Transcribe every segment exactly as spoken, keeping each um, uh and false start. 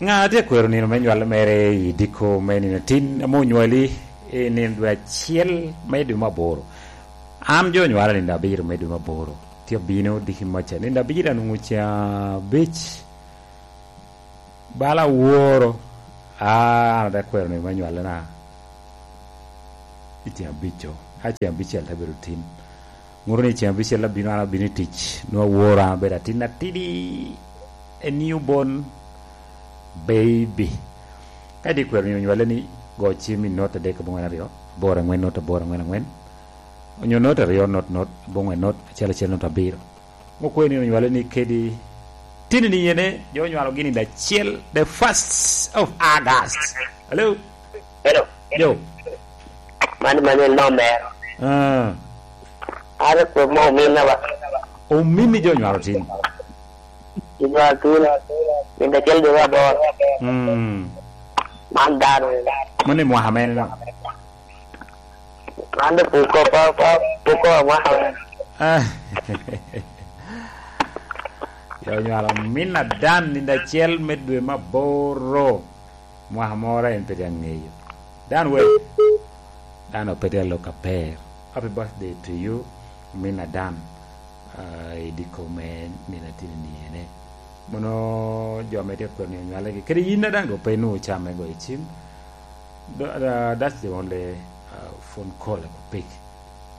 Ŋa tye akwero nino me nywal mere i diko me nino tin ame onywali i nino dwe acel me dwe me aboro? An jo onywala nino abiro me dwe me aboro. Tye abino diki maca nino abiro anwoŋo ca abic. Bala aworo, ah, an ate kwero nino me nywalana i ceng abic-co. Ka ceng abicel te bedo tin. Ŋuto ni ceng abicel abino, an abino i tic. Nwoŋo aworo, an abedo atin atidi, a newborn baby. Ka di kwero nino nywale ni, go cim i not adek aboŋwen aryo, aboro angwen not aboro angwen angwen. Onyo not aryo not not aboŋwen not acel acel not abiro. Mo kwe ni onywale ni kedi tini ni yene, jo onywalo gini da acel, the first of August. Hello? Hello. Yo. Man, man en nomero. Ah. Are kwe mo ominna ba. Ominni jo onywalo tin. Inywalo tin. Min da acel dwe aboro. Mm. Man dano. Mano i mwaka mene no? Man dong pwod ko, pa, pa, pwod ko amwaka wene. Ah. Yo onywalo min adan nino acel me dwe me aboro. Mwaka moro en pe tye aŋeyo. Dan we. Dan pe tye alok aber. Happy birthday to you, min adan. Ah, i diko me nino atini ni ene. Mono jo ame tye kwero ni onywalegi. Kadi yin a daŋ dok pe inwoŋo cam me goyo cim. Tha-, tha-, that's the only, uh, phone call I could pick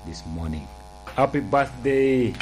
this morning. Happy birthday,